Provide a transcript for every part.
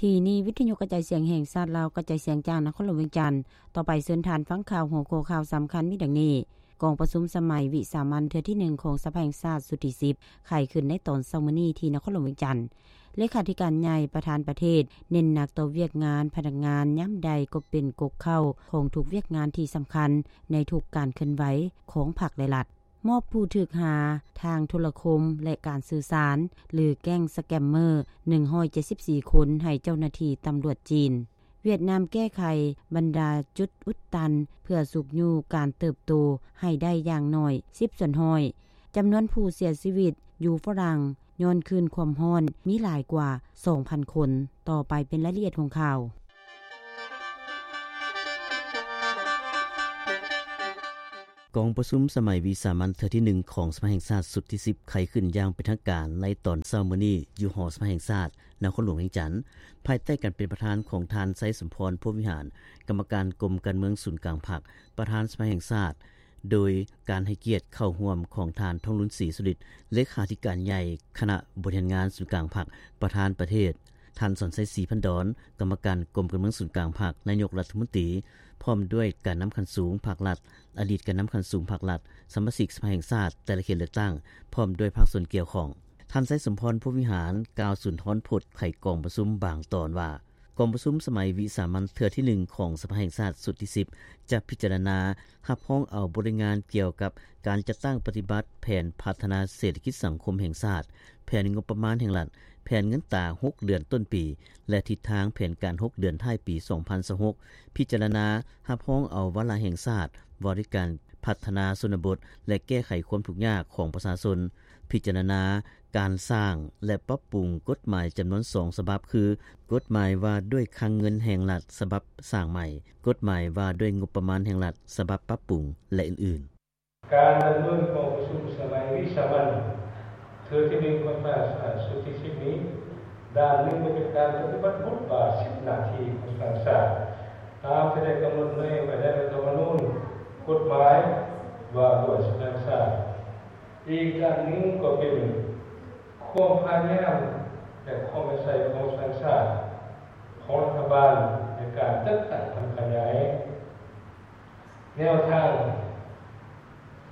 ທີ່ນີ້ ວິທະຍຸກະຈາຍສຽງແຫ່ງຊາດລາວ ກະຈາຍສຽງຈາກນະຄອນຫຼວງວຽງຈັນ. ຕໍ່ໄປເຊີນທ່ານຟັງຂ່າວ ຫົວຂໍ້ຂ່າວສຳຄັນມີດັ່ງນີ້: ກອງປະຊຸມສະໄໝວິສາມັນເທື່ອທີໜຶ່ງຂອງສະພາແຫ່ງຊາດຊຸດທີສິບ ໄຂຂຶ້ນໃນຕອນເຊົ້າມື້ນີ້ທີ່ນະຄອນຫຼວງວຽງຈັນ. ເລຂາທິການໃຫຍ່ປະທານປະເທດ ເນັ້ນໜັກຕໍ່ວຽກງານພະນັກງານ ຍາມໃດກໍເປັນກົກເຄົ້າຂອງທຸກວຽກງານທີ່ສຳຄັນໃນທຸກການເຄື່ອນໄຫວຂອງພັກ ແລະ ລັດ. ມອບຜູ້ຖືກຫາທາງໂທລະຄົມ ແລະ ການສື່ສານ ຫຼື ແກ້ງສະແກມເມີ ໜຶ່ງຮ້ອຍເຈັດສິບສີ່ຄົນໃຫ້ເຈົ້າໜ້າທີ່ຕຳຫຼວດຈີນ. ຫວຽດນາມແກ້ໄຂບັນດາຈຸດອຸດຕັນ ເພື່ອຊຸກຍູ້ການເຕີບໂຕໃຫ້ໄດ້ຢ່າງໜ້ອຍສິບສ່ວນຮ້ອຍ. ຈຳນວນຜູ້ເສຍຊີວິດຢູ່ຝຣັ່ງຍ້ອນຄື້ນຄວາມຮ້ອນມີຫຼາຍກວ່າສອງພັນຄົນ. ຕໍ່ໄປເປັນລາຍລະອຽດຂອງຂ່າວ. ກອງປະຊຸມສະໄໝວິສາມັນເທື່ອທີໜຶ່ງຂອງສະພາແຫ່ງຊາດຊຸດທີສິບ ໄຂຂຶ້ນຢ່າງເປັນທາງການໃນຕອນເຊົ້າມື້ນີ້ ຢູ່ຫໍສະພາແຫ່ງຊາດ ນະຄອນຫຼວງວຽງຈັນ ພາຍໃຕ້ການເປັນປະທານຂອງທ່ານ ໄຊສົມພອນ ພົມວິຫານ ກຳມະການກົມການເມືອງສູນກາງພັກ ປະທານສະພາແຫ່ງຊາດ ໂດຍການໃຫ້ກຽດເຂົ້າຮ່ວມຂອງທ່ານ ທອງລຸນ ສີສຸລິດ ເລຂາທິການໃຫຍ່ຄະນະບໍລິຫານງານສູນກາງພັກ ປະທານປະເທດ, ທ່ານ ສອນໄຊ ສີພັນດອນ ກຳມະການກົມການເມືອງສູນກາງພັກ, ນາຍົກລັດຖະມົນຕີ ພ້ອມດ້ວຍການນຳຂັ້ນສູງພັກລັດ, ອະດີດການນຳຂັ້ນສູງພັກລັດ, ສະມາຊິກສະພາແຫ່ງຊາດແຕ່ລະເຂດເລືອກຕັ້ງ ພ້ອມດ້ວຍພາກສ່ວນກ່ຽວຂ້ອງ. ທ່ານ ໄຊສົມພອນ ພົມວິຫານ ກ່າວສຸນທອນພົດໄຂກອງປະຊຸມບາງຕອນວ່າ, ກອງປະຊຸມສະໄໝວິສາມັນເທື່ອທີໜຶ່ງຂອງສະພາແຫ່ງຊາດຊຸດທີສິບ ຈະພິຈາລະນາຮັບຮອງເອົາບົດລາຍງານກ່ຽວກັບການຈັດຕັ້ງປະຕິບັດແຜນພັດທະນາເສດຖະກິດສັງຄົມແຫ່ງຊາດ, ແຜນງົບປະມານແຫ່ງລັດ, ແຜນເງິນຕາຫົກເດືອນຕົ້ນປີ ແລະ ທິດທາງແຜນການຫົກເດືອນທ້າຍປີສອງພັນຊາວຫົກ, ພິຈາລະນາຮັບຮອງເອົາວາລະແຫ່ງຊາດວ່າດ້ວຍການພັດທະນາຊົນນະບົດ ແລະ ແກ້ໄຂຄວາມທຸກຍາກຂອງປະຊາຊົນ, ພິຈາລະນາ ການສ້າງ ແລະ ປັບປຸງກົດໝາຍຈຳນວນສອງສະບັບ ຄື ກົດໝາຍວ່າດ້ວຍຄັງເງິນແຫ່ງລັດສະບັບສ້າງໃໝ່, ກົດໝາຍວ່າດ້ວຍງົບປະມານແຫ່ງລັດສະບັບປັບປຸງ ແລະ ອື່ນໆ. ການດຳເນີນກອງປະຊຸມສະໄໝວິສາມັນເທື່ອທີໜຶ່ງຂອງສະພາແຫ່ງຊາດຊຸດທີສິບນີ້ ດ້ານໜຶ່ງກໍເປັນການປະຕິບັດບົດບາດສິດໜ້າທີ່ຂອງສະພາແຫ່ງຊາດ ຕາມທີ່ໄດ້ກຳນົດໄວ້ໃນລັດຖະມະນູນ, ກົດໝາຍວ່າດ້ວຍສະພາແຫ່ງຊາດ. ອີກດ້ານໜຶ່ງກໍເປັນຄວາມພະຍາຍາມ ແລະ ຄວາມເອົາໃຈໃສ່ຂອງສະພາແຫ່ງຊາດ ຂອງລັດຖະບານໃນການຈັດຕັ້ງທຳຂະຫຍາຍແນວທາງ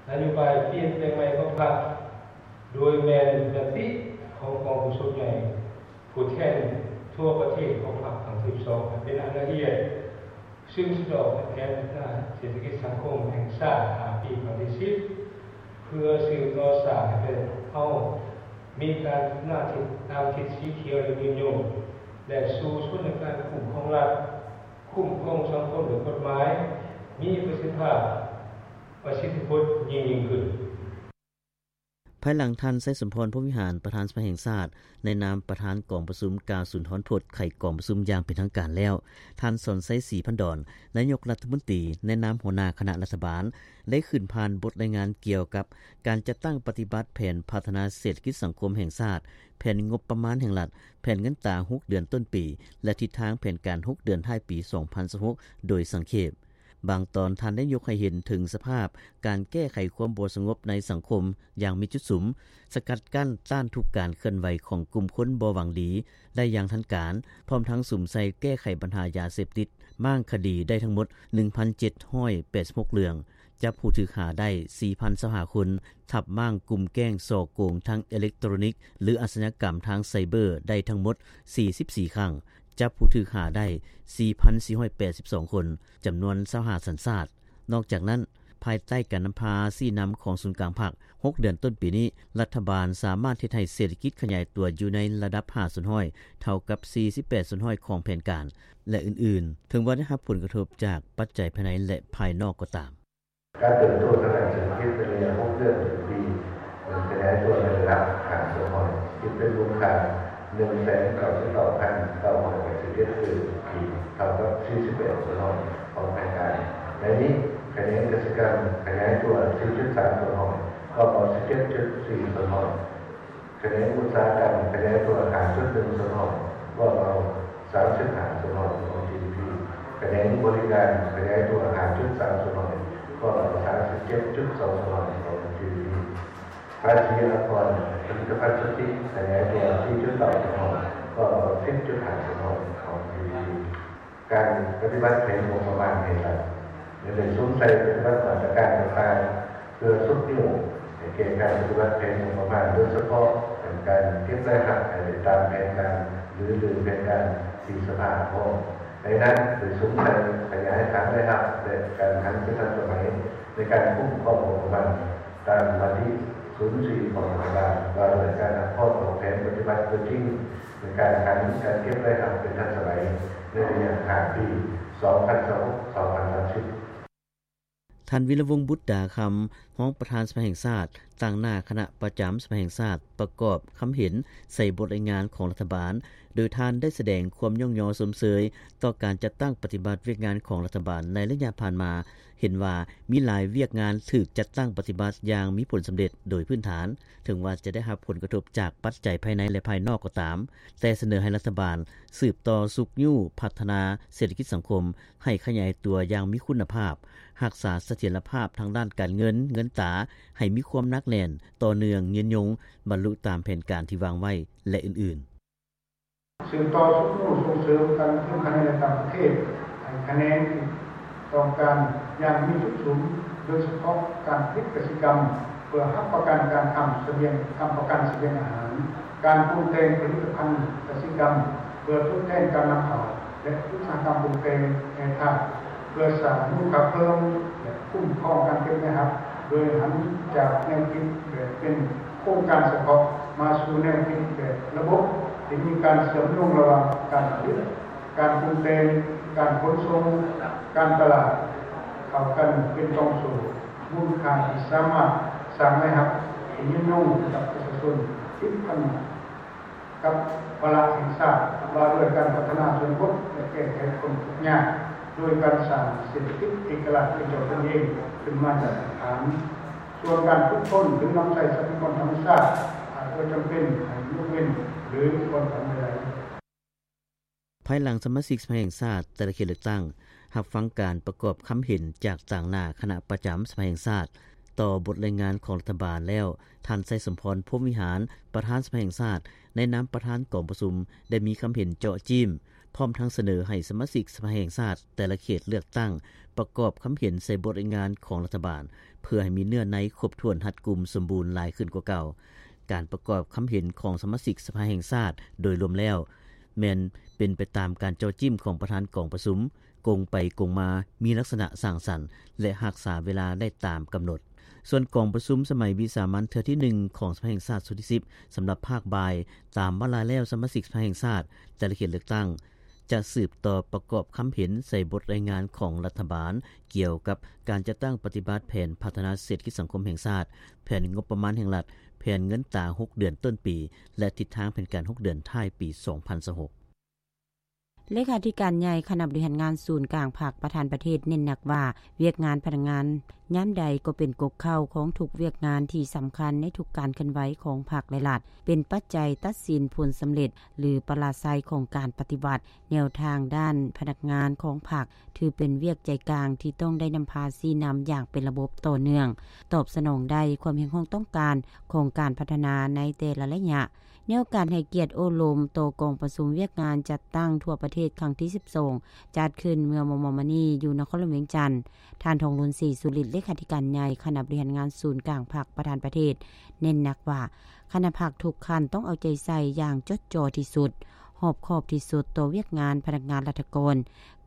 ນະໂຍບາຍປ່ຽນແປງໃໝ່ຂອງພັກ ໂດຍແມ່ນຍະຕິຂອງກອງປະຊຸມໃຫຍ່ ຜູ້ແທນທົ່ວປະເທດຂອງພັກຄັ້ງທີສິບສອງ ໃຫ້ເປັນອັນລະອຽດ, ຊຶ່ງສະດອກໃຫ້ແຜນພັດທະນາເສດຖະກິດສັງຄົມແຫ່ງຊາດຫ້າປີຄັ້ງທີສິບ ເພື່ອສືບຕໍ່ສ້າງໃຫ້ປະເທດເຮົາມີການພັດທະນາທີ່ຕາມທິດສີຂຽວ ແລະ ຍືນຍົງ ແລະ ສູ້ຊົນໃນການຄຸ້ມຄອງລັດ, ຄຸ້ມຄອງສັງຄົມດ້ວຍກົດໝາຍ, ມີປະສິດທິພາບ, ປະສິດທິຜົນຍິ່ງໆຂຶ້ນ. ພາຍຫຼັງທ່ານ ໄຊສົມພອນ ພົມວິຫານ ປະທານສະພາແຫ່ງຊາດ ໃນນາມປະທານກອງປະຊຸມ ກ່າວສຸນທອນພົດໄຂກອງປະຊຸມຢ່າງເປັນທາງການແລ້ວ, ທ່ານ ສອນໄຊ ສີພັນດອນ ນາຍົກລັດຖະມົນຕີ ໃນນາມຫົວໜ້າຄະນະລັດຖະບານ ໄດ້ຂຶ້ນຜ່ານບົດລາຍງານກ່ຽວກັບການຈັດຕັ້ງປະຕິບັດແຜນພັດທະນາເສດຖະກິດສັງຄົມແຫ່ງຊາດ, ແຜນງົບປະມານແຫ່ງລັດ, ແຜນເງິນຕາຫົກເດືອນຕົ້ນປີ ແລະ ທິດທາງແຜນການຫົກເດືອນທ້າຍປີສອງພັນຊາວຫົກ ໂດຍສັງເຂບ. ບາງຕອນທ່ານໄດ້ຍົກໃຫ້ເຫັນເຖິງສະພາບການແກ້ໄຂຄວາມບໍ່ສະຫງົບໃນສັງຄົມຢ່າງມີຈຸດສຸມ, ສະກັດກັ້ນຕ້ານທຸກການເຄື່ອນໄຫວຂອງກຸ່ມຄົນບໍ່ຫວັງດີໄດ້ຢ່າງທັນການ, ພ້ອມທັງສຸມໃສ່ແກ້ໄຂບັນຫາຢາເສບຕິດ, ມ້າງຄະດີໄດ້ທັງໝົດໜຶ່ງພັນເຈັດຮ້ອຍແປດສິບຫົກເລື່ອງ, ຈັບຜູ້ຖືກຫາໄດ້ສີ່ພັນຊາວຫ້າຄົນ, ທັບມ້າງກຸ່ມແກ້ງສໍ້ໂກງທາງເອເລັກໂຕຣນິກ ຫຼື ອາຊະຍາກຳທາງໄຊເບີໄດ້ທັງໝົດສີ່ສິບສີ່ຄັ້ງ, ຈັບຜູ້ຖືກຫາໄດ້ສີ່ພັນສີ່ຮ້ອຍແປດສິບສອງຄົນ, ຈຳນວນຊາວຫ້າສັນຊາດ. ນອກຈາກນັ້ນ, ພາຍໃຕ້ການນຳພາຊີ້ນຳຂອງສູນກາງພັກ, ຫົກເດືອນຕົ້ນປີນີ້, ລັດຖະບານສາມາດເຮັດໃຫ້ເສດຖະກິດຂະຫຍາຍຕົວຢູ່ໃນລະດັບຫ້າສ່ວນຮ້ອຍ, ເທົ່າກັບສີ່ສິບແປດສ່ວນຮ້ອຍຂອງແຜນການ ແລະ ອື່ນໆ, ເຖິງວ່າໄດ້ຮັບຜົນກະທົບຈາກປັດໄຈພາຍໃນ ແລະ ພາຍນອກກໍຕາມ. ການເຕີບໂຕທາງດ້ານເສດຖະກິດໃນໄລຍະຫົກເດືອນຕໍ່ປີ ມັນຂະຫຍາຍຕົວໃນລະດັບຫ້າສ່ວນຮ້ອຍ, ຄິດເປັນມູນຄ່າໜຶ່ງແສນເກົ້າສິບເກົ້າພັນເກົ້າຮ້ອຍແປດສິບເຈັດຕື້ກີບ, ເທົ່າກັບສີ່ສິບແປດສ່ວນຮ້ອຍຂອງແຜນການ. ໃນນີ້, ຂະແໜງກະສິກຳຂະຫຍາຍຕົວສີ່ຈຸດສາມສ່ວນຮ້ອຍ, ຄວາມອອກສິບເຈັດຈຸດສີ່ສ່ວນຮ້ອຍ, ຂະແໜງອຸດສາຫະກຳຂະຫຍາຍຕົວຫ້າຈຸດໜຶ່ງສ່ວນຮ້ອຍ, ຄວາມອອກສາມສິບຫ້າສ່ວນຮ້ອຍຂອງຈີດີພີ, ຂະແໜງບໍລິການຂະຫຍາຍຕົວຫ້າຈຸດສາມສ່ວນຮ້ອຍ, ຄວາມອອກສາມສິບເຈັດຈຸດສອງສ່ວນຮ້ອຍຂອງຈີດີພີ. ພາສີອາກອນຜະລິດຕະພັນສຸດທິຂະຫຍາຍຕົວສີ່ຈຸດເກົ້າສ່ວນຮ້ອຍ, ຂໍ້ສິບຈຸດຫ້າສະທ້ອນຂອງ GDP ການປະຕິບັດແຜນງົບປະມານແຫ່ງລັດ ແລະ ໄດ້ສຸມໃສ່ປະຕິບັດມາດຕະການຕ່າງໆ ເພື່ອຊຸກຍູ້ໃຫ້ແກ່ການປະຕິບັດແຜນງົບປະມານ, ໂດຍສະເພາະແຜນການເກັບລາຍຮັບໃຫ້ໄດ້ຕາມແຜນການ ຫຼື ຫຼື ແຜນການທີ່ສະພາຮັບຮອງ. ໃນນັ້ນໄດ້ສຸມໃສ່ຂະຫຍາຍຖານລາຍຮັບ ແລະ ການຫັນທີ່ທັນສະໄໝໃນການຄຸ້ມຄອງງົບປະມານ ຕາມມະຕິສູນສີ່ຂອງລັດຖະບານ ວ່າດ້ວຍການຮັບຮອງອອກແຜນປະຕິບັດຕົວຈິງ ໃນການຫັນການເກັບລາຍຮັບເປັນທັນສະໄໝ ໃນໄລຍະຫ້າປີ ສອງພັນຊາວຫົກ ສອງພັນສາມສິບ. ທ່ານ ວິລະວົງ ບຸດດາຄຳ ຮອງປະທານສະພາແຫ່ງຊາດ ຕາງໜ້າຄະນະປະຈຳສະພາແຫ່ງຊາດ ປະກອບຄຳເຫັນໃສ່ບົດລາຍງານຂອງລັດຖະບານ, ໂດຍທ່ານໄດ້ສະແດງຄວາມຍ້ອງຍໍຊົມເຊີຍຕໍ່ການຈັດຕັ້ງປະຕິບັດວຽກງານຂອງລັດຖະບານໃນໄລຍະຜ່ານມາ, ເຫັນວ່າມີຫຼາຍວຽກງານຖືກຈັດຕັ້ງປະຕິບັດຢ່າງມີຜົນສຳເລັດໂດຍພື້ນຖານ, ເຖິງວ່າຈະໄດ້ຮັບຜົນກະທົບຈາກປັດໄຈພາຍໃນ ແລະ ພາຍນອກກໍຕາມ, ແຕ່ສະເໜີໃຫ້ລັດຖະບານສືບຕໍ່ຊຸກຍູ້ພັດທະນາເສດຖະກິດສັງຄົມໃຫ້ຂະຫຍາຍຕົວຢ່າງມີຄຸນນະພາບ, ຮັກສາສະຖຽນລະພາບທາງດ້ານການເງິນ, ເງິນຕາ ໃຫ້ມີຄວາມໜັກແໜ້ນ, ຕໍ່ເນື່ອງ, ຍືນຍົງ, ບັນລຸຕາມແຜນການທີ່ວາງໄວ້ ແລະ ອື່ນໆ. ສືບຕໍ່ຊຸກຍູ້ສົ່ງເສີມການລົງທຶນພາຍໃນ ແລະ ຕ່າງປະເທດ ໃຫ້ຂະແໜງທີ່ຕ້ອງການຢ່າງມີຈຸດສຸມ, ໂດຍສະເພາະການຜະລິດກະສິກຳ ເພື່ອຮັບປະກັນການຄ້ຳສະບຽງ, ຄ້ຳປະກັນສະບຽງອາຫານ, ການປຸງແຕ່ງຜະລິດຕະພັນກະສິກຳ ເພື່ອທົດແທນການນຳເຂົ້າ ແລະ ອຸດສາຫະກຳປຸງແຕ່ງແຮ່ທາດ ເພື່ອສ້າງມູນຄ່າເພີ່ມ ແລະ ຄຸ້ມຄອງການເກັບລາຍຮັບ ໂດຍຫັນຈາກແນວຄິດແບບເປັນໂຄງການສະເພາະ ມາສູ່ແນວຄິດແບບລະບົບ ທີ່ມີການເຊື່ອມໂຍງລະຫວ່າງການຜະລິດ, ການປຸງແຕ່ງ, ການຂົນສົ່ງ, ການຕະຫຼາດ ເຂົ້າກັນເປັນກອງໂສ້ມູນຄ່າທີ່ສາມາດສ້າງລາຍຮັບທີ່ຍືນຍົງໃຫ້ກັບປະຊາຊົນ ຕິດພັນ ກັບວາລະແຫ່ງຊາດວ່າດ້ວຍການພັດທະນາຊົນບົດ ແລະ ແກ້ໄຂຄວາມທຸກຍາກ ໂດຍການສ້າງເສດຖະກິດເອກະລາດເປັນເຈົ້າຕົນເອງຂຶ້ນມາຈາກພື້ນຖານ. ສ່ວນການຝຶກຝົນ ຫຼື ນຳໃຊ້ຊັບພະຍາກອນທຳມະຊາດ ອາດບໍ່ຈຳເປັນໃຫ້ຍົກເວັ້ນ ຫຼື ຜ່ອນຜັນໃດໆ. ພາຍຫຼັງສະມາຊິກສະພາແຫ່ງຊາດແຕ່ລະເຂດເລືອກຕັ້ງ ຮັບຟັງການປະກອບຄຳເຫັນຈາກຕາງໜ້າຄະນະປະຈຳສະພາແຫ່ງຊາດ ຕໍ່ບົດລາຍງານຂອງລັດຖະບານແລ້ວ, ທ່ານ ໄຊສົມພອນ ພົມວິຫານ ປະທານສະພາແຫ່ງຊາດ ໃນນາມປະທານກອງປະຊຸມ ໄດ້ມີຄຳເຫັນເຈາະຈີ້ມ, ພ້ອມທັງສະເໜີໃຫ້ສະມາຊິກສະພາແຫ່ງຊາດແຕ່ລະເຂດເລືອກຕັ້ງ ປະກອບຄຳເຫັນໃສ່ບົດລາຍງານຂອງລັດຖະບານ ເພື່ອໃຫ້ມີເນື້ອໃນຄົບຖ້ວນ ຮັດກຸມ ສົມບູນຫຼາຍຂຶ້ນກວ່າເກົ່າ. ການປະກອບຄຳເຫັນຂອງສະມາຊິກສະພາແຫ່ງຊາດໂດຍລວມແລ້ວ ແມ່ນເປັນໄປຕາມການເຈາະຈີ້ມຂອງປະທານກອງປະຊຸມ, ກົງໄປກົງມາ, ມີລັກສະນະສ້າງສັນ ແລະ ຮັກສາເວລາໄດ້ຕາມກຳນົດ. ສ່ວນກອງປະຊຸມສະໄໝວິສາມັນເທື່ອທີໜຶ່ງຂອງສະພາແຫ່ງຊາດຊຸດທີສິບ ສຳລັບພາກບ່າຍ, ຕາມວາລະແລ້ວ ສະມາຊິກສະພາແຫ່ງຊາດແຕ່ລະເຂດເລືອກຕັ້ງ ຈະສືບຕໍ່ປະກອບຄຳເຫັນໃສ່ບົດລາຍງານຂອງລັດຖະບານ ກ່ຽວກັບການຈັດຕັ້ງປະຕິບັດແຜນພັດທະນາເສດຖະກິດສັງຄົມແຫ່ງຊາດ, ແຜນງົບປະມານແຫ່ງລັດ, ແຜນເງິນຕາຫົກເດືອນຕົ້ນປີ ແລະ ທິດທາງແຜນການຫົກເດືອນທ້າຍປີສອງພັນຊາວຫົກ. ເລຂາທິການໃຫຍ່ຄະນະບໍລິຫານງານສູນກາງພັກປະທານປະເທດເນັ້ນໜັກວ່າ ວຽກງານພະນັກງານຍາມໃດກໍເປັນກົກເຄົ້າຂອງທຸກວຽກງານທີ່ສຳຄັນໃນທຸກການເຄື່ອນໄຫວຂອງພັກ ແລະ ລັດ, ເປັນປັດໄຈຕັດສິນຜົນສຳເລັດ ຫຼື ປະລາໄຊຂອງການປະຕິວັດ. ແນວທາງດ້ານພະນັກງານຂອງພັກ ຖືເປັນວຽກໃຈກາງທີ່ຕ້ອງໄດ້ນຳພາຊີ້ນຳຢ່າງເປັນລະບົບຕໍ່ເນື່ອງ, ຕອບສະໜອງໄດ້ຄວາມຮຽກຮ້ອງຕ້ອງການຂອງການພັດທະນາໃນແຕ່ລະໄລຍະ. ແນວການໃຫ້ກຽດໂອ້ລົມຕໍ່ກອງປະຊຸມວຽກງານຈັດຕັ້ງທົ່ວປະເທດຄັ້ງທີສິບສອງ ຈັດຂຶ້ນເມື່ອມໍ່ໆມານີ້ຢູ່ນະຄອນຫຼວງວຽງຈັນ, ທ່ານ ທອງລຸນ ສີສຸລິດ ເລຂາທິການໃຫຍ່ຄະນະບໍລິຫານງານສູນກາງພັກປະທານປະເທດ ເນັ້ນໜັກວ່າ ຄະນະພັກທຸກຂັ້ນຕ້ອງເອົາໃຈໃສ່ຢ່າງຈົດຈໍ່ທີ່ສຸດ, ຮອບຄອບທີ່ສຸດຕໍ່ວຽກງານພະນັກງານລັດຖະກອນ,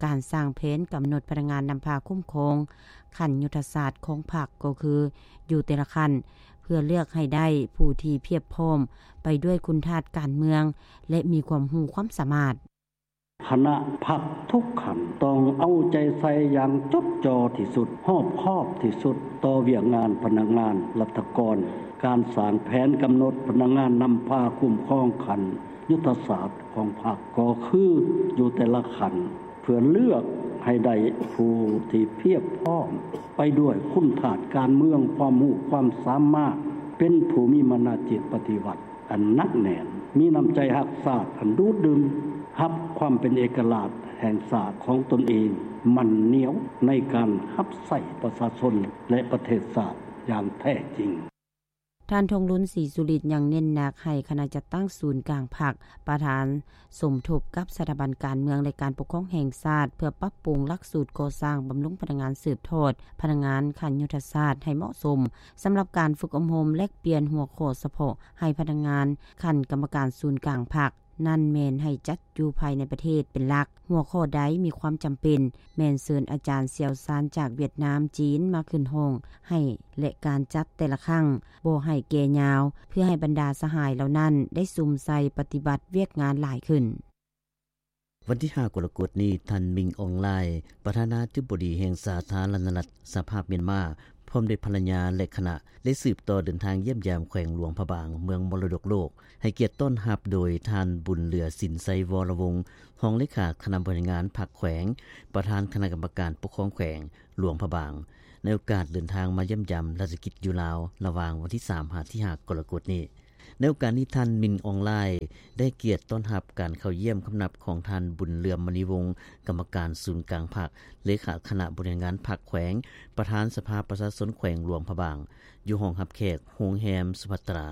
ການສ້າງແຜນກຳນົດພະນັກງານນຳພາຄຸ້ມຄອງຂັ້ນຍຸດທະສາດຂອງພັກ ກໍຄືຢູ່ແຕ່ລະຂັ້ນ ເພື່ອເລືອກໃຫ້ໄດ້ຜູ້ທີ່ພຽບພ້ອມໄປດ້ວຍຄຸນທາດການເມືອງ ແລະ ມີຄວາມຮູ້ຄວາມສາມາດ. ຄະນະພັກທຸກຂັ້ນຕ້ອງເອົາໃຈໃສ່ຢ່າງຈົດຈໍ່ທີ່ສຸດ, ຮອບຄອບທີ່ສຸດຕໍ່ວຽກງານພະນັກງານລັດຖະກອນ. ການສ້າງແຜນກຳນົດພະນັກງານນຳພາຄຸ້ມຄອງຂັ້ນຍຸດທະສາດຂອງພັກ ກໍຄືຢູ່ແຕ່ລະຂັ້ນ ເພື່ອເລືອກໃຫ້ໄດ້ຜູ້ທີ່ພຽບພ້ອມໄປດ້ວຍຄຸນທາດການເມືອງ, ຄວາມຮູ້ຄວາມສາມາດ, ເປັນຜູ້ມີມານະຈິດປະຕິວັດ ອັນໜັກແໜ້ນ, ມີນ້ຳໃຈຮັກຊາດອັນດູດດື່ມ, ຮັບຄວາມເປັນເອກະລາດແຫ່ງຊາດຂອງຕົນເອງໝັ້ນໜຽວໃນການຮັບໃຊ້ປະຊາຊົນ ແລະ ປະເທດຊາດຢ່າງແທ້ຈິງ. ທ່ານ ທອງລຸນ ສີສຸລິດ ຍັງເນັ້ນໜັກໃຫ້ຄະນະຈັດຕັ້ງສູນກາງພັກ, ປະທານສົມທົບກັບສະຖາບັນການເມືອງ ແລະ ການປົກຄອງແຫ່ງຊາດ ເພື່ອປັບປຸງຫຼັກສູດກໍ່ສ້າງບຳລຸງພະນັກງານສືບທອດ, ພະນັກງານຂັ້ນຍຸດທະສາດໃຫ້ເໝາະສົມ. ສຳລັບການຝຶກອົບຮົມແລກປ່ຽນຫົວຂໍ້ສະເພາະໃຫ້ພະນັກງານຂັ້ນກຳມະການສູນກາງພັກ ນັ້ນແມ່ນໃຫ້ຈັດຢູ່ພາຍໃນປະເທດເປັນຫຼັກ. ຫົວຂໍ້ໃດມີຄວາມຈຳເປັນ ແມ່ນເຊີນອາຈານຊ່ຽວຊານຈາກຫວຽດນາມ, ຈີນ ມາຂຶ້ນຫ້ອງໃຫ້ ແລະ ການຈັດແຕ່ລະຄັ້ງບໍ່ໃຫ້ແກ່ຍາວ ເພື່ອໃຫ້ບັນດາສະຫາຍເຫຼົ່ານັ້ນໄດ້ສຸມໃສ່ປະຕິບັດວຽກງານຫຼາຍຂຶ້ນ. ວັນທີຫ້າ ກໍລະກົດນີ້, ທ່ານ ມິງ ອອງລາຍ ປະທານາທິບໍດີແຫ່ງສາທາລະນະລັດສະຫະພາບມຽນມາ ພ້ອມດ້ວຍພັນລະຍາ ແລະ ຄະນະ ໄດ້ສືບຕໍ່ເດີນທາງຢ້ຽມຢາມແຂວງຫຼວງພະບາງ ເມືອງມໍລະດົກໂລກ, ໃຫ້ກຽດຕ້ອນຮັບໂດຍທ່ານ ບຸນເຫຼືອ ສິນໄຊວໍລະວົງ ຮອງເລຂາຄະນະບໍລິຫານງານພັກແຂວງ, ປະທານຄະນະກຳມະການປົກຄອງແຂວງຫຼວງພະບາງ ໃນໂອກາດເດີນທາງມາຢ້ຽມຢາມລັດຖະກິດຢູ່ລາວ ລະຫວ່າງວັນທີສາມ ຫາ ທີຫ້າ ກໍລະກົດນີ້. ໃນໂອກາດນີ້, ທ່ານ ມິນ ອອງລາຍ ໄດ້ກຽດຕ້ອນຮັບການເຂົ້າຢ້ຽມຄຳນັບຂອງທ່ານ ບຸນເຫຼືອມ ມະນີວົງ ກຳມະການສູນກາງພັກ, ເລຂາຄະນະບໍລິຫານງານພັກແຂວງ, ປະທານສະພາປະຊາຊົນແຂວງຫຼວງພະບາງ ຢູ່ຫ້ອງຮັບແຂກໂຮງແຮມສຸພັດຕາ.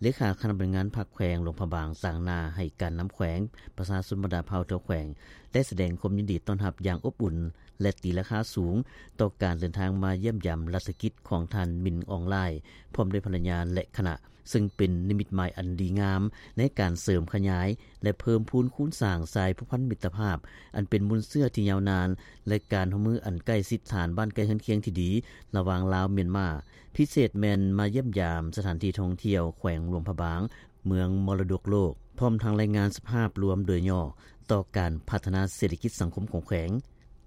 ເລຂາຄະນະບໍລິຫານງານພັກແຂວງຫຼວງພະບາງ ຕາງໜ້າໃຫ້ການນຳແຂວງ, ປະຊາຊົນບັນດາເຜົ່າທົ່ວແຂວງ ໄດ້ສະແດງຄວາມຍິນດີຕ້ອນຮັບຢ່າງອົບອຸ່ນ ແລະ ຕີລາຄາສູງຕໍ່ການເດີນທາງມາຢ້ຽມຢາມລັດຖະກິດຂອງທ່ານ ມິນ ອອງລາຍ ພ້ອມດ້ວຍພັນລະຍາ ແລະ ຄະນະ, ເຊິ່ງເປັນນິມິດໝາຍອັນດີງາມໃນການເສີມຂະຫຍາຍ ແລະ ເພີ່ມພູນຄູນສ້າງສາຍພົວພັນມິດຕະພາບ ອັນເປັນມູນເຊື້ອທີ່ຍາວນານ ແລະ ການຮ່ວມມືອັນໃກ້ຊິດຖານບ້ານໃກ້ເຮືອນຄຽງທີ່ດີ ລະຫວ່າງລາວ-ມຽນມາ, ພິເສດແມ່ນມາຢ້ຽມຢາມສະຖານທີ່ທ່ອງທ່ຽວແຂວງຫຼວງພະບາງ, ເມືອງມໍລະດົກໂລກ, ພ້ອມທັງລາຍງານສະພາບລວມໂດຍຫຍໍ້ຕໍ່ການພັດທະນາເສດຖະກິດສັງຄົມຂອງແຂວງ.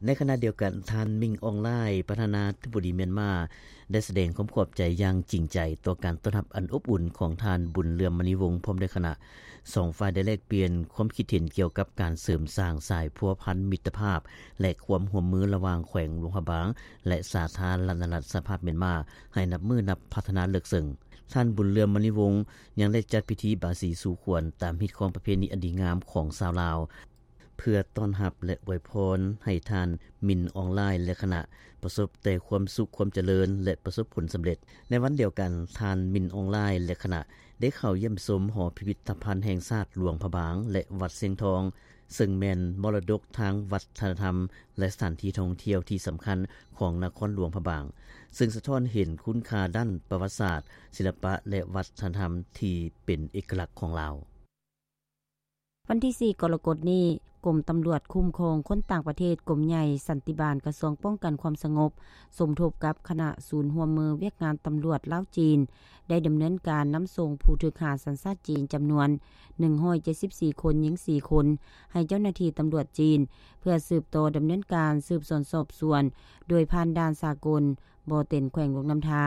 ໃນຂະນະດຽວກັນ, ທ່ານ ມິງ ອອງລາຍ ປະທານາທິບໍດີມຽນມາ ໄດ້ສະແດງຄວາມຂອບໃຈຢ່າງຈິງໃຈຕໍ່ການຕ້ອນຮັບອັນອົບອຸ່ນຂອງທ່ານ ບຸນເຫຼືອມ ມະນີວົງ ພ້ອມດ້ວຍຄະນະ. ສອງຝ່າຍໄດ້ແລກປ່ຽນຄວາມຄິດເຫັນກ່ຽວກັບການເສີມສ້າງສາຍພົວພັນມິດຕະພາບ ແລະ ຄວາມຮ່ວມມືລະຫວ່າງແຂວງຫຼວງພະບາງ ແລະ ສາທາລະນະລັດສະຫະພາບມຽນມາ ໃຫ້ນັບມື້ນັບພັດທະນາເລິກເຊິ່ງ. ທ່ານ ບຸນເຫຼືອມ ມະນີວົງ ຍັງໄດ້ຈັດພິທີບາສີສູ່ຂວັນຕາມຮີດຄອງປະເພນີອັນດີງາມຂອງຊາວລາວ ເພື່ອຕ້ອນຮັບ ແລະ ອວຍພອນໃຫ້ທ່ານ ມິນ ອອງລາຍ ແລະ ຄະນະ ປະສົບແຕ່ຄວາມສຸກຄວາມຈະເລີນ ແລະ ປະສົບຜົນສຳເລັດ. ໃນວັນດຽວກັນ, ທ່ານ ມິນ ອອງລາຍ ແລະ ຄະນະ ໄດ້ເຂົ້າຢ້ຽມຊົມຫໍພິພິດທະພັນແຫ່ງຊາດຫຼວງພະບາງ ແລະ ວັດຊຽງທອງ, ເຊິ່ງແມ່ນມໍລະດົກທາງວັດທະນະທຳ ແລະ ສະຖານທີ່ທ່ອງທ່ຽວທີ່ສຳຄັນຂອງນະຄອນຫຼວງພະບາງ, ເຊິ່ງສະທ້ອນເຫັນຄຸນຄ່າດ້ານປະຫວັດສາດ, ສິລະປະ ແລະ ວັດທະນະທຳທີ່ເປັນເອກະລັກຂອງລາວ. ວັນທີສີ່ ກໍລະກົດນີ້, ກົມຕຳຫຼວດຄຸ້ມຄອງຄົນຕ່າງປະເທດ ກົມໃຫຍ່ສັນຕິບານ ກະຊວງປ້ອງກັນຄວາມສະຫງົບ ສົມທົບກັບຄະນະສູນຮ່ວມມືວຽກງານຕຳຫຼວດລາວ-ຈີນ ໄດ້ດຳເນີນການນຳສົ່ງຜູ້ຖືກຫາສັນຊາດຈີນຈຳນວນໜຶ່ງຮ້ອຍເຈັດສິບສີ່ຄົນ, ຍິງສີ່ຄົນ ໃຫ້ເຈົ້າໜ້າທີ່ຕຳຫຼວດຈີນ ເພື່ອສືບຕໍ່ດຳເນີນການສືບສວນສອບສວນ ໂດຍຜ່ານດ່ານສາກົນບໍ່ເຕັນ ແຂວງຫຼວງນ້ຳທາ.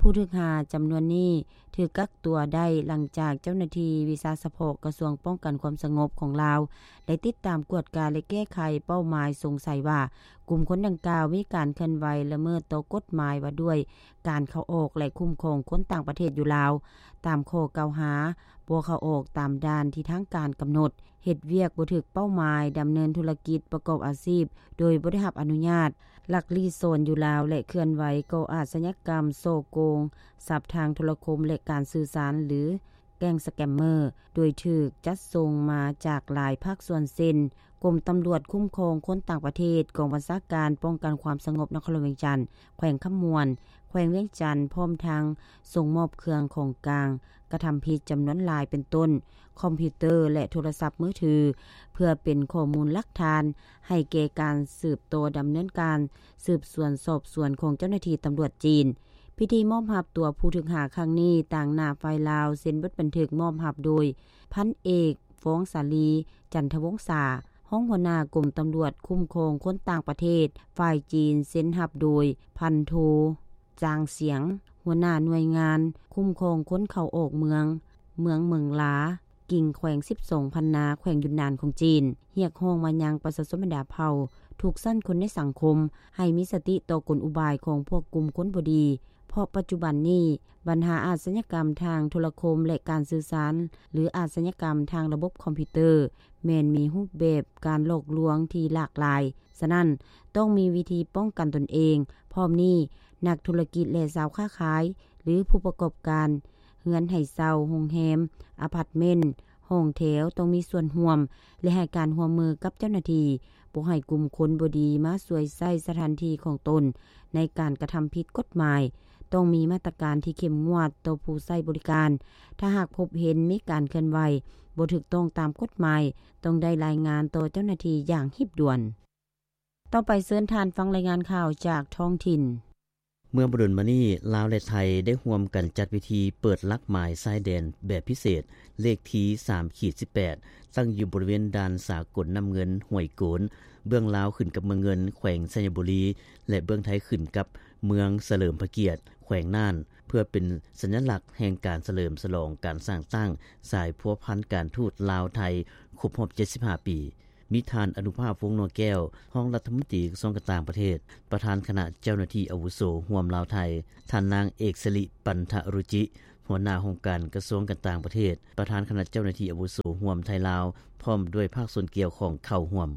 ຜູ້ຖືກຫາຈຳນວນນີ້ຖືກກັກຕົວໄດ້ຫຼັງຈາກເຈົ້າໜ້າທີ່ວິຊາສະເພາະກະຊວງປ້ອງກັນຄວາມສະຫງົບຂອງລາວ ໄດ້ຕິດຕາມກວດກາ ແລະ ແກ້ໄຂເປົ້າໝາຍສົງໄສວ່າ ກຸ່ມຄົນດັ່ງກ່າວມີການເຄື່ອນໄຫວລະເມີດຕໍ່ກົດໝາຍວ່າດ້ວຍການເຂົ້າອອກ ແລະ ຄຸ້ມຄອງຄົນຕ່າງປະເທດຢູ່ລາວ ຕາມຂໍ້ກ່າວຫາ ບໍ່ເຂົ້າອອກຕາມດ່ານທີ່ທາງການກຳນົດ, ເຮັດວຽກບໍ່ຖືກເປົ້າໝາຍ, ດຳເນີນທຸລະກິດປະກອບອາຊີບໂດຍບໍ່ໄດ້ຮັບອະນຸຍາດ, ລັກລີ້ຊ່ອນຢູ່ລາວ ແລະ ເຄື່ອນໄຫວກໍ່ອາຊະຍາກຳ, ສໍ້ໂກງຊັບທາງໂທລະຄົມ ແລະ ການສື່ສານ ຫຼື ແກ້ງສະແກມເມີ ໂດຍຖືກຈັດສົ່ງມາຈາກຫຼາຍພາກສ່ວນເຊັ່ນ ກົມຕຳຫຼວດຄຸ້ມຄອງຄົນຕ່າງປະເທດ, ກອງບັນຊາການປ້ອງກັນຄວາມສະຫງົບນະຄອນຫຼວງວຽງຈັນ, ແຂວງຄຳມ່ວນ, ແຂວງວຽງຈັນ, ພ້ອມທັງສົ່ງມອບເຄື່ອງຂອງກາງກະທຳຜິດຈຳນວນຫຼາຍ ເປັນຕົ້ນ ຄອມພິວເຕີ ແລະ ໂທລະສັບມືຖື ເພື່ອເປັນຂໍ້ມູນຫຼັກຖານໃຫ້ແກ່ການສືບຕໍ່ດຳເນີນການສືບສວນສອບສວນຂອງເຈົ້າໜ້າທີ່ຕຳຫຼວດຈີນ. ພິທີມອບຮັບຕົວຜູ້ຖືກຫາຄັ້ງນີ້ ຕາງໜ້າຝ່າຍລາວເຊັນບົດບັນທຶກມອບຮັບໂດຍ ພັນເອກ ຟອງສາລີ ຈັນທະວົງສາ, ຮອງຫົວໜ້າກົມຕຳຫຼວດຄຸ້ມຄອງຄົນຕ່າງປະເທດ, ຝ່າຍຈີນເຊັນຮັບໂດຍ ພັນໂທ ຈາງສຽງ ຫົວໜ້າໜ່ວຍງານຄຸ້ມຄອງຄົນເຂົ້າອອກເມືອງ, ເມືອງເໝິງລາ, ກິ່ງແຂວງສິບສອງພັນນາ, ແຂວງຢຸນນານຂອງຈີນ, ຮຽກຮ້ອງມາຍັງປະຊາຊົນບັນດາເຜົ່າທຸກຊັ້ນຄົນໃນສັງຄົມ ໃຫ້ມີສະຕິຕໍ່ກົນອຸບາຍຂອງພວກກຸ່ມຄົນບໍ່ດີ, ເພາະປັດຈຸບັນນີ້ ບັນຫາອາຊະຍາກຳທາງໂທລະຄົມ ແລະ ການສື່ສານ ຫຼື ອາຊະຍາກຳທາງລະບົບຄອມພິວເຕີ ແມ່ນມີຮູບແບບການຫຼອກລວງທີ່ຫຼາກຫຼາຍ. ສະນັ້ນ, ຕ້ອງມີວິທີປ້ອງກັນຕົນເອງ. ພ້ອມນີ້, ນັກທຸລະກິດ ແລະ ຊາວຄ້າຂາຍ ຫຼື ຜູ້ປະກອບການ ເຮືອນໃຫ້ເຊົ່າ, ໂຮງແຮມ, ອາພາດເມັນ, ຫ້ອງແຖວ ຕ້ອງມີສ່ວນຮ່ວມ ແລະ ໃຫ້ການຮ່ວມມືກັບເຈົ້າໜ້າທີ່, ບໍ່ໃຫ້ກຸ່ມຄົນບໍ່ດີມາສວຍໃຊ້ສະຖານທີ່ຂອງຕົນໃນການກະທຳຜິດກົດໝາຍ. ຕ້ອງມີມາດຕະການທີ່ເຂັ້ມງວດຕໍ່ຜູ້ໃຊ້ບໍລິການ. ຖ້າຫາກພົບເຫັນມີການເຄື່ອນໄຫວບໍ່ຖືກຕ້ອງຕາມກົດໝາຍ, ຕ້ອງໄດ້ລາຍງານຕໍ່ເຈົ້າໜ້າທີ່ຢ່າງຮີບດ່ວນ. ຕໍ່ໄປເຊີນທ່ານຟັງລາຍງານຂ່າວຈາກທ້ອງຖິ່ນ. ເມື່ອບໍ່ດົນມານີ້, ລາວ ແລະ ໄທ ໄດ້ຮ່ວມກັນຈັດພິທີເປີດຫຼັກໝາຍຊາຍແດນແບບພິເສດ ເລກທີ ສາມ ຂີດ ສິບແປດ ຕັ້ງຢູ່ບໍລິເວນດ່ານສາກົນນ້ຳເງິນ ຫ້ວຍໂກນ ເບື້ອງລາວຂຶ້ນກັບເມືອງເງິນ ແຂວງໄຊຍະບູລີ ແລະ ເບື້ອງໄທຂຶ້ນກັບເມືອງສະເຫຼີມພະກຽດ ແຂວງນ່ານ ເພື່ອເປັນສັນຍະລັກແຫ່ງການສະເຫຼີມສະຫຼອງການສ້າງຕັ້ງສາຍພົວພັນການທູດລາວ-ໄທ ຄົບຮອບ ເຈັດສິບຫ້າ ປີ. ມີທ່ານ ອະນຸພາບ ວົງນົວແກ້ວ ຮອງລັດຖະມົນຕີກະຊວງການຕ່າງປະເທດ, ປະທານຄະນະເຈົ້າໜ້າທີ່ອາວຸໂສຮ່ວມລາວ-ໄທ, ທ່ານນາງ ເອກສະລິ ປັນທະຣຸຈິ ຫົວໜ້າຫ້ອງການກະຊວງການຕ່າງປະເທດ, ປະທານຄະນະເຈົ້າໜ້າທີ່ອາວຸໂສຮ່ວມໄທ-ລາວ ພ້ອມດ້ວຍພາກສ່ວນກ່ຽວຂ້ອງເຂົ້າຮ່ວມ.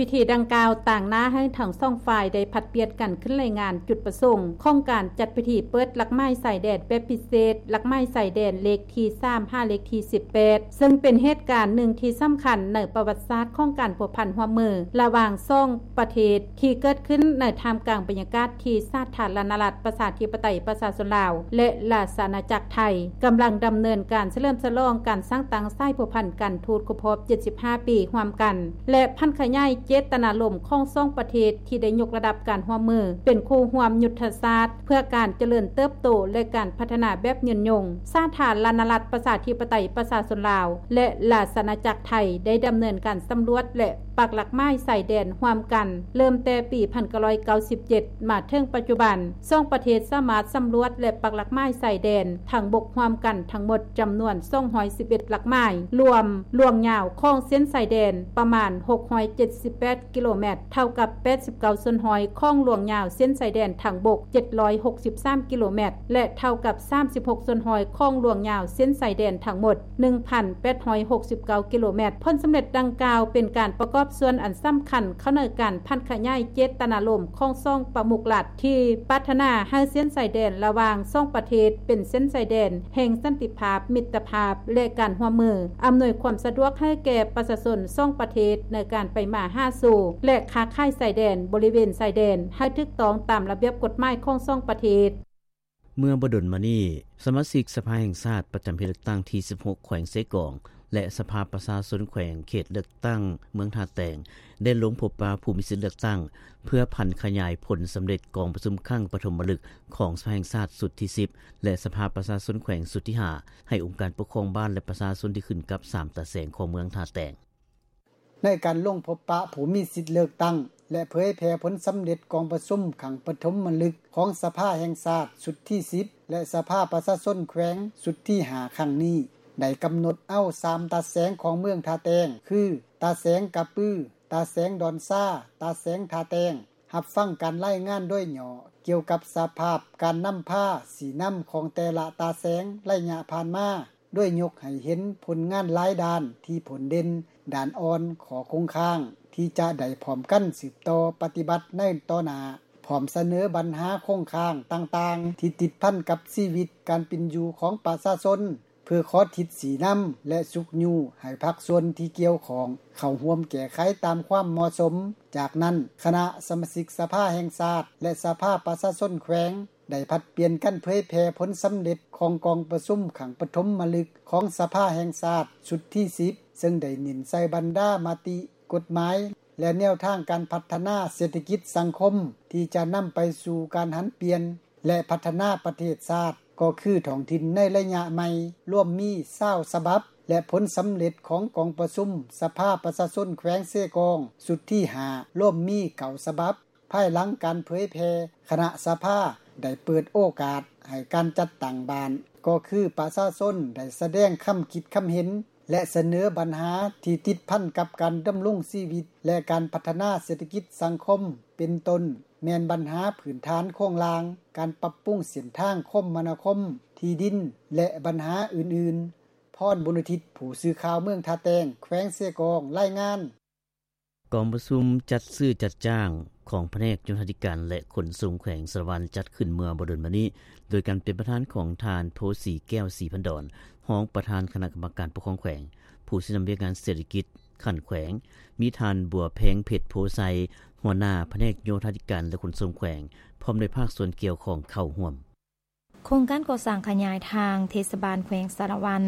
ພິທີດັ່ງກ່າວຕາງໜ້າໃຫ້ທັງສອງຝ່າຍໄດ້ຜັດປ່ຽນກັນຂຶ້ນລາຍງານຈຸດປະສົງຂອງການຈັດພິທີເປີດຫຼັກໝາຍຊາຍແດນແບບພິເສດ, ຫຼັກໝາຍຊາຍແດນເລກທີ ສາມ ຫາເລກທີ ສິບແປດ ເຊິ່ງເປັນເຫດການໜຶ່ງທີ່ສຳຄັນໃນປະຫວັດສາດຂອງການພົວພັນຮ່ວມມືລະຫວ່າງສອງປະເທດ ທີ່ເກີດຂຶ້ນໃນທ່າມກາງບັນຍາກາດທີ່ສາທາລະນະລັດ ປະຊາທິປະໄຕ ປະຊາຊົນລາວ ແລະ ລາຊະອານາຈັກໄທ ກຳລັງດຳເນີນການສະເຫຼີມສະຫຼອງການສ້າງຕັ້ງສາຍພົວພັນການທູດຄົບຮອບ ເຈັດສິບຫ້າ ປີຮ່ວມກັນ ແລະ ຜັນຂະຫຍາຍເຈດຕະນາລົມຂອງສອງປະເທດທີ່ໄດ້ຍົກລະດັບການຮ່ວມມືເປັນຄູ່ຮ່ວມຍຸດທະສາດ ເພື່ອການຈະເລີນເຕີບໂຕ ແລະ ການພັດທະນາແບບຍືນຍົງ. ສາທາລະນະລັດ ປະຊາທິປະໄຕ ປະຊາຊົນລາວ ແລະ ລາຊະອານາຈັກໄທ ໄດ້ດຳເນີນການສຳຫຼວດ ແລະ ປັກຫຼັກໝາຍຊາຍແດນຮ່ວມກັນ ເລີ່ມແຕ່ປີພັນເກົ້າຮ້ອຍເກົ້າສິບເຈັດ ມາເຖິງປັດຈຸບັນ. ສອງປະເທດສາມາດສຳຫຼວດ ແລະ ປັກຫຼັກໝາຍຊາຍແດນທາງບົກຮ່ວມກັນທັງໝົດຈຳນວນສອງຮ້ອຍສິບເອັດຫຼັກໝາຍ, ລວມລວງຍາວຂອງເສັ້ນຊາຍແດນປະມານຫົກຮ້ອຍເຈັດສິບແປດກິໂລແມັດ, ເທົ່າກັບແປດສິບເກົ້າສ່ວນຮ້ອຍຂອງລວງຍາວເສັ້ນຊາຍແດນທາງບົກ ເຈັດຮ້ອຍຫົກສິບສາມກິໂລແມັດ ແລະ ເທົ່າກັບສາມສິບຫົກສ່ວນຮ້ອຍຂອງລວງຍາວເສັ້ນຊາຍແດນທັງໝົດ ໜຶ່ງພັນແປດຮ້ອຍຫົກສິບເກົ້າກິໂລແມັດ. ຜົນສຳເລັດດັ່ງກ່າວເປັນການປະກອບສ່ວນອັນສຳຄັນເຂົ້າໃນການຜັນຂະຫຍາຍເຈດຕະນາລົມຂອງສອງປະມຸກລັດ ທີ່ປາດຖະໜາໃຫ້ເສັ້ນຊາຍແດນລະຫວ່າງສອງປະເທດເປັນເສັ້ນຊາຍແດນແຫ່ງສັນຕິພາບ, ມິດຕະພາບ ແລະ ການຮ່ວມມື, ອຳນວຍຄວາມສະດວກໃຫ້ແກ່ປະຊາຊົນສອງປະເທດໃນການໄປມາຫາສູ່ ແລະ ຄ້າຂາຍຊາຍແດນ, ບໍລິເວນຊາຍແດນ ໃຫ້ຖືກຕ້ອງຕາມລະບຽບກົດໝາຍຂອງສອງປະເທດ. ເມື່ອບໍ່ດົນມານີ້, ສະມາຊິກສະພາແຫ່ງຊາດປະຈຳເຂດເລືອກຕັ້ງທີສິບຫົກ ແຂວງເຊກອງ ແລະ ສະພາປະຊາຊົນແຂວງເຂດເລືອກຕັ້ງເມືອງທ່າແຕງ ໄດ້ລົງພົບປະຜູ້ມີສິດເລືອກຕັ້ງ ເພື່ອຜັນຂະຫຍາຍຜົນສຳເລັດກອງປະຊຸມຄັ້ງປະຖົມມະລຶກຂອງສະພາແຫ່ງຊາດຊຸດທີສິບ ແລະ ສະພາປະຊາຊົນແຂວງຊຸດທີຫ້າ ໃຫ້ອົງການປົກຄອງບ້ານ ແລະ ປະຊາຊົນທີ່ຂຶ້ນກັບສາມຕາແສງຂອງເມືອງທ່າແຕງ. ໃນການລົງພົບປະຜູ້ມີສິດເລືອກຕັ້ງ ແລະ ເຜີຍແຜ່ຜົນສຳເລັດກອງປະຊຸມຄັ້ງປະຖົມມະລຶກຂອງສະພາແຫ່ງຊາດຊຸດທີສິບ ແລະ ສະພາປະຊາຊົນແຂວງຊຸດທີຫ້າຄັ້ງນີ້ ໄດ້ກຳນົດເອົາສາມຕາແສງຂອງເມືອງທ່າແຕງ ຄື ຕາແສງກະປື, ຕາແສງດອນຊາ, ຕາແສງທ່າແຕງ ຮັບຟັງການລາຍງານໂດຍຫຍໍ້ກ່ຽວກັບສະພາບການນຳພາຊີ້ນຳຂອງແຕ່ລະຕາແສງໄລຍະຜ່ານມາ, ໂດຍຍົກໃຫ້ເຫັນຜົນງານຫຼາຍດ້ານທີ່ຜົນເດັ່ນ, ດ້ານອ່ອນ, ຂໍ້ຄົງຄ້າງ ທີ່ຈະໄດ້ພ້ອມກັນສືບຕໍ່ປະຕິບັດໃນຕໍ່ໜ້າ, ພ້ອມສະເໜີບັນຫາຄົງຄ້າງຕ່າງໆ ທີ່ຕິດພັນກັບຊີວິດການເປັນຢູ່ຂອງປະຊາຊົນ ເພື່ອຂໍທິດຊີ້ນຳ ແລະ ຊຸກຍູ້ໃຫ້ພາກສ່ວນທີ່ກ່ຽວຂ້ອງເຂົ້າຮ່ວມແກ້ໄຂຕາມຄວາມເໝາະສົມ. ຈາກນັ້ນ, ຄະນະສະມາຊິກສະພາແຫ່ງຊາດ ແລະ ສະພາປະຊາຊົນແຂວງ ໄດ້ຜັດປ່ຽນກັນເຜີຍແຜ່ຜົນສຳເລັດຂອງກອງປະຊຸມຄັ້ງປະຖົມມະລຶກຂອງສະພາແຫ່ງຊາດຊຸດທີສິບ ເຊິ່ງໄດ້ເນັ້ນໃສ່ບັນດາມະຕິ, ກົດໝາຍ ແລະ ແນວທາງການພັດທະນາເສດຖະກິດສັງຄົມ ທີ່ຈະນຳໄປສູ່ການຫັນປ່ຽນ ແລະ ພັດທະນາປະເທດຊາດ ກໍຄືທ້ອງຖິ່ນໃນໄລຍະໃໝ່ ລວມມີຊາວສະບັບ ແລະ ຜົນສຳເລັດຂອງກອງປະຊຸມສະພາປະຊາຊົນແຂວງເຊກອງຊຸດທີຫ້າ ລວມມີເກົ້າສະບັບ. ພາຍຫຼັງການເຜີຍແຜ່, ຄະນະສະພາໄດ້ເປີດໂອກາດໃຫ້ການຈັດຕັ້ງບ້ານ ກໍຄືປະຊາຊົນໄດ້ສະແດງຄຳຄິດຄຳເຫັນ ແລະ ສະເໜີບັນຫາທີ່ຕິດພັນກັບການດຳລົງຊີວິດ ແລະ ການພັດທະນາເສດຖະກິດສັງຄົມ ເປັນຕົ້ນແມ່ນບັນຫາພື້ນຖານໂຄງລ່າງ, ການປັບປຸງເສັ້ນທາງຄົມມະນາຄົມ, ທີ່ດິນ ແລະ ບັນຫາອື່ນໆ. ພອນ ບຸນອຸທິດ, ຜູ້ສື່ຂ່າວເມືອງທ່າແຕງ, ແຂວງເຊກອງ, ລາຍງານ. ກອງປະຊຸມຈັດຊື້ຈັດຈ້າງ ຂອງພະແນກໂຍທາທິການ ແລະ ຂົນສົ່ງແຂວງສາລະວັນ ຈັດຂຶ້ນເມື່ອບໍ່ດົນມານີ້ ໂດຍການເປັນປະທານຂອງທ່ານ ໂພສີແກ້ວ ສີພັນດອນ ຮອງປະທານຄະນະກຳມະການປົກຄອງແຂວງ. ຜູ້ຊີ້ນຳວຽກງານເສດຖະກິດຂັ້ນແຂວງ ມີທ່ານ ບົວແພງ ເພັດໂພໄຊ ຫົວໜ້າພະແນກໂຍທາທິການ ແລະ ຂົນສົ່ງແຂວງ ພ້ອມດ້ວຍພາກສ່ວນກ່ຽວຂ້ອງເຂົ້າຮ່ວມ. ໂຄງການກໍ່ສ້າງຂະຫຍາຍທາງເທດສະບານແຂວງສາລະວັນ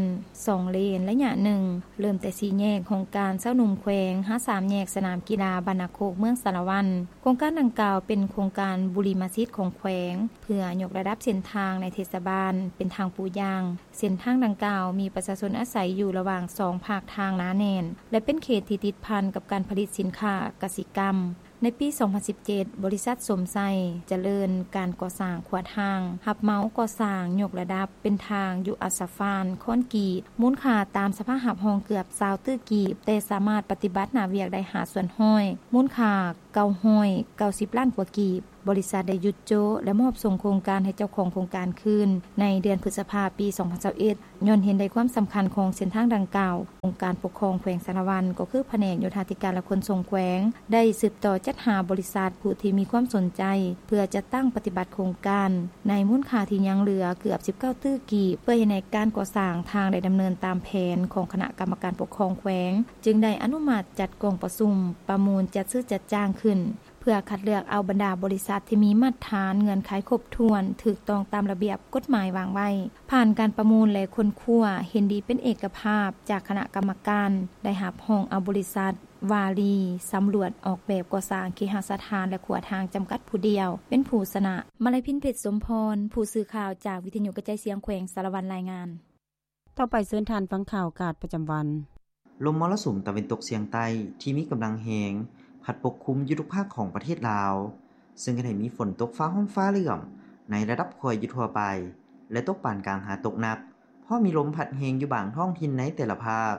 ສອງເລນໄລຍະໜຶ່ງ ເລີ່ມແຕ່ສີ່ແຍກໂຮງການຊາວໜຸ່ມແຂວງ ຫາສາມແຍກສະໜາມກິລາບ້ານນາໂຄກ ເມືອງສາລະວັນ. ໂຄງການດັ່ງກ່າວເປັນໂຄງການບຸລິມະສິດຂອງແຂວງ ເພື່ອຍົກລະດັບເສັ້ນທາງໃນເທດສະບານເປັນທາງປູຢາງ. ເສັ້ນທາງດັ່ງກ່າວມີປະຊາຊົນອາໄສຢູ່ລະຫວ່າງສອງພາກທາງໜາແໜ້ນ ແລະ ເປັນເຂດທີ່ຕິດພັນກັບການຜະລິດສິນຄ້າກະສິກຳ. ໃນປີສອງພັນສິບເຈັດ ບໍລິສັດສົມໄຊຈະເລີນການກໍ່ສ້າງຂົວທາງ ຮັບເໝົາກໍ່ສ້າງຍົກລະດັບເປັນທາງຢູ່ອັດສະຟານຄອນກຣີດ ມູນຄ່າຕາມສະພາບຮັບຮອງເກືອບຊາວຕື້ກີບ, ແຕ່ສາມາດປະຕິບັດໜ້າວຽກໄດ້ຫ້າສ່ວນຮ້ອຍ ມູນຄ່າເກົ້າຮ້ອຍເກົ້າສິບລ້ານກວ່າກີບ. ບໍລິສັດໄດ້ຢຸດໂຈະ ແລະ ມອບສົ່ງໂຄງການໃຫ້ເຈົ້າຂອງໂຄງການຄືນໃນເດືອນພຶດສະພາປີສອງພັນຊາວເອັດ ຍ້ອນເຫັນໄດ້ຄວາມສຳຄັນຂອງເສັ້ນທາງດັ່ງກ່າວ. ອົງການປົກຄອງແຂວງສາລະວັນ ກໍຄືພະແນກໂຍທາທິການ ແລະ ຂົນສົ່ງແຂວງ ໄດ້ສືບຕໍ່ຈັດຫາບໍລິສັດຜູ້ທີ່ມີຄວາມສົນໃຈ ເພື່ອຈັດຕັ້ງປະຕິບັດໂຄງການ ໃນມູນຄ່າທີ່ຍັງເຫຼືອເກືອບສິບເກົ້າຕື້ກີບ ເພື່ອເຮັດໃຫ້ການກໍ່ສ້າງທາງໄດ້ດຳເນີນຕາມແຜນຂອງຄະນະກຳມະການປົກຄອງແຂວງ, ຈຶ່ງໄດ້ອະນຸມັດຈັດກອງປະຊຸມປະມູນຈັດຊື້ຈັດຈ້າງຂຶ້ນ ເພື່ອຄັດເລືອກເອົາບັນດາບໍລິສັດທີ່ມີມາດຕະຖານເງື່ອນໄຂຄົບຖ້ວນ, ຖືກຕ້ອງຕາມລະບຽບກົດໝາຍວາງໄວ້. ຜ່ານການປະມູນ ແລະ ຄົ້ນຄວ້າເຫັນດີເປັນເອກະພາບຈາກຄະນະກຳມະການ, ໄດ້ຮັບຮອງເອົາບໍລິສັດ ວາລີ ສຳຫຼວດອອກແບບກໍ່ສ້າງເຄຫະສະຖານ ແລະ ຂົວທາງ ຈຳກັດຜູ້ດຽວ ເປັນຜູ້ຊະນະ. ມາໄລພິນ ເພັດສົມພອນ ຜູ້ສື່ຂ່າວຈາກວິທະຍຸກະຈາຍສຽງແຂວງສາລະວັນ ລາຍງານ. ຕໍ່ໄປເຊີນທ່ານຟັງຂ່າວອາກາດປະຈຳວັນ. ລົມມໍລະສຸມຕາເວັນຕົກສຽງໃຕ້ທີ່ມີກຳລັງແຮງ ພັດປົກຄຸມຢູ່ທຸກພາກຂອງປະເທດລາວ, ເຊິ່ງເຮັດໃຫ້ມີຝົນຕົກຟ້າຮ້ອງຟ້າເຫຼື້ອມໃນລະດັບຄ່ອຍຢູ່ທົ່ວໄປ ແລະ ຕົກປານກາງຫາຕົກໜັກ, ເພາະມີລົມພັດແຮງຢູ່ບາງທ້ອງຖິ່ນໃນແຕ່ລະພາກ.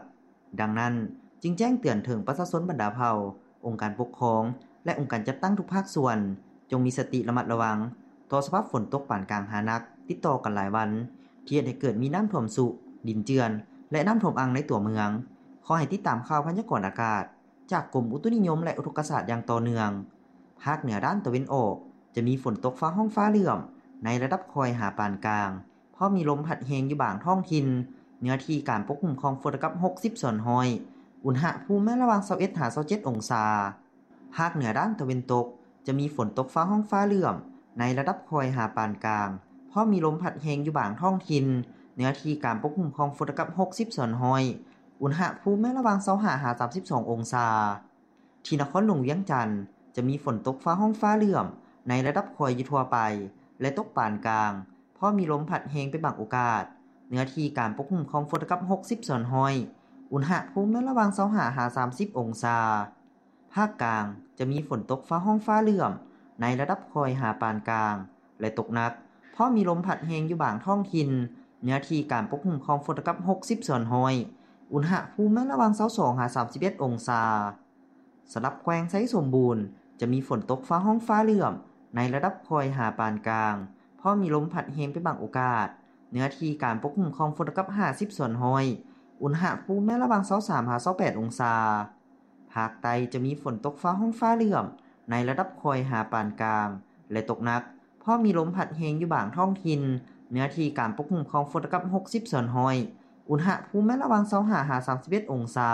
ດັ່ງນັ້ນ, ຈຶ່ງແຈ້ງເຕືອນເຖິງປະຊາຊົນບັນດາເຜົ່າ, ອົງການປົກຄອງ ແລະ ອົງການຈັດຕັ້ງທຸກພາກສ່ວນ ຈົ່ງມີສະຕິລະມັດລະວັງຕໍ່ສະພາບຝົນຕົກປານກາງຫາໜັກຕິດຕໍ່ກັນຫຼາຍວັນ, ທີ່ເຮັດໃຫ້ເກີດມີນ້ຳຖ້ວມຊຸ, ດິນເຈື່ອນ ແລະ ນ້ຳຖ້ວມອັ່ງໃນຕົວເມືອງ. ຂໍໃຫ້ຕິດຕາມຂ່າວພະຍາກອນອາກາດຈາກກົມອຸຕຸນິຍົມ ແລະ ອຸທົກກະສາດຢ່າງຕໍ່ເນື່ອງ. ພາກເໜືອດ້ານຕາເວັນອອກ ຈະມີຝົນຕົກຟ້າຮ້ອງຟ້າເຫຼື້ອມໃນລະດັບຄ່ອຍຫາປານກາງ, ເພາະມີລົມພັດແຮງຢູ່ບາງທ້ອງຖິ່ນ, ເນື້ອທີ່ການປົກຄຸມຂອງຝົນເທົ່າກັບຫົກສິບສ່ວນຮ້ອຍ, ອຸນຫະພູມແມ່ນລະຫວ່າງຊາວເອັດຫາຊາວເຈັດອົງສາ. ພາກເໜືອດ້ານຕາເວັນຕົກ ຈະມີຝົນຕົກຟ້າຮ້ອງຟ້າເຫຼື້ອມໃນລະດັບຄ່ອຍຫາປານກາງ, ເພາະມີລົມພັດແຮງຢູ່ບາງທ້ອງຖິ່ນ, ເນື້ອທີ່ການປົກຄຸມຂອງຝົນເທົ່າກັບຫົກສິບສ່ວນຮ້ອຍ, ອຸນຫະພູມແມ່ນລະຫວ່າງຊາວຫ້າຫາສາມສິບສອງອົງສາ. ທີ່ນະຄອນຫຼວງວຽງຈັນ ຈະມີຝົນຕົກຟ້າຮ້ອງຟ້າເຫຼື້ອມໃນລະດັບຄ່ອຍຢູ່ທົ່ວໄປ ແລະ ຕົກປານກາງ, ເພາະມີລົມພັດແຮງເປັນບາງໂອກາດ, ເນື້ອທີ່ການປົກຄຸມຂອງຝົນເທົ່າກັບຫົກສິບສ່ວນຮ້ອຍ, ອຸນຫະພູມແມ່ນລະຫວ່າງຊາວຫ້າຫາສາມສິບອົງສາ. ພາກກາງ ຈະມີຝົນຕົກຟ້າຮ້ອງຟ້າເຫຼື້ອມໃນລະດັບຄ່ອຍຫາປານກາງ ແລະ ຕົກໜັກ, ເພາະມີລົມພັດແຮງຢູ່ບາງທ້ອງຖິ່ນ, ເນື້ອທີ່ການປົກຄຸມຂອງຝົນເທົ່າກັບຫົກສິບສ່ວນຮ້ອຍ, ອຸນຫະພູມແມ່ນລະຫວ່າງຊາວສອງຫາສາມສິບເອັດອົງສາ. ສຳລັບແຂວງໄຊສົມບູນ ຈະມີຝົນຕົກຟ້າຮ້ອງຟ້າເຫຼື້ອມໃນລະດັບຄ່ອຍຫາປານກາງ, ເພາະມີລົມພັດແຮງເປັນບາງໂອກາດ, ເນື້ອທີ່ການປົກຄຸມຂອງຝົນເທົ່າກັບຫ້າສິບສ່ວນຮ້ອຍ, ອຸນຫະພູມແມ່ນລະຫວ່າງຊາວສາມຫາຊາວແປດອົງສາ. ພາກໃຕ້ຈະມີຝົນຕົກຟ້າຮ້ອງຟ້າເຫຼື້ອມໃນລະດັບຄ່ອຍຫາປານກາງ ແລະ ຕົກໜັກ, ເພາະມີລົມພັດແຮງຢູ່ບາງທ້ອງຖິ່ນ, ເນື້ອທີ່ການປົກຄຸມຂອງຝົນເທົ່າກັບຫົກສິບສ່ວນຮ້ອຍ, ອຸນຫະພູມແມ່ນລະຫວ່າງຊາວຫ້າຫາສາມສິບເອັດອົງສາ.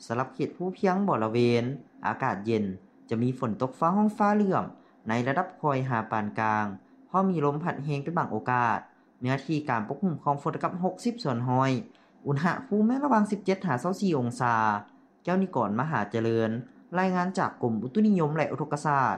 ສຳລັບເຂດພູພຽງບໍລະເວນ ອາກາດເຢັນ, ຈະມີຝົນຕົກຟ້າຮ້ອງຟ້າເຫຼື້ອມໃນລະດັບຄ່ອຍຫາປານກາງ, ເພາະມີລົມພັດແຮງເປັນບາງໂອກາດ, ເນື້ອທີ່ການປົກຄຸມຂອງຝົນເທົ່າກັບຫົກສິບສ່ວນຮ້ອຍ, ອຸນຫະພູມແມ່ນລະຫວ່າງສິບເຈັດຫາຊາວສີ່ອົງສາ. ແກ້ວນິກອນ ມະຫາຈະເລີນ, ລາຍງານຈາກກົມອຸຕຸນິຍົມ ແລະ ອຸທົກກະສາດ.